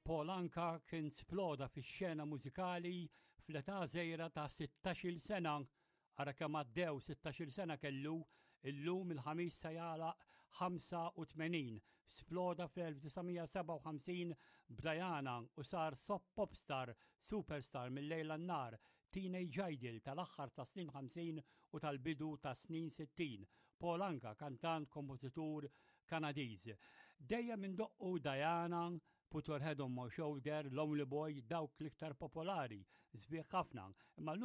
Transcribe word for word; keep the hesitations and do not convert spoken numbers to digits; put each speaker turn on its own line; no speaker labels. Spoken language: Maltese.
Paul Anka kien sploda fix-xena mużikali fl-età żgħira ta' sittax-il sena. Ara kemm għaddew, sittax-il sena kellu, illum il-Ħamis se jagħlaq ħamsa u tmenin. Sploda fl-elf disa' mija sebgħa u ħamsin b'Diana u sar sop popstar, superstar mill-lejl għan-nhar, teenage idol tal-aħħar ta' snin ħamsin u tal-bidu ta' snin sittin. Paul Anka, kantant, kompożitur Kanadiż. Dejjem indoqqu Diana, Put Your Head on My Shoulder, Lonely Boy, dawk l-iktar popolari, sbieħ ħafna. Imma llum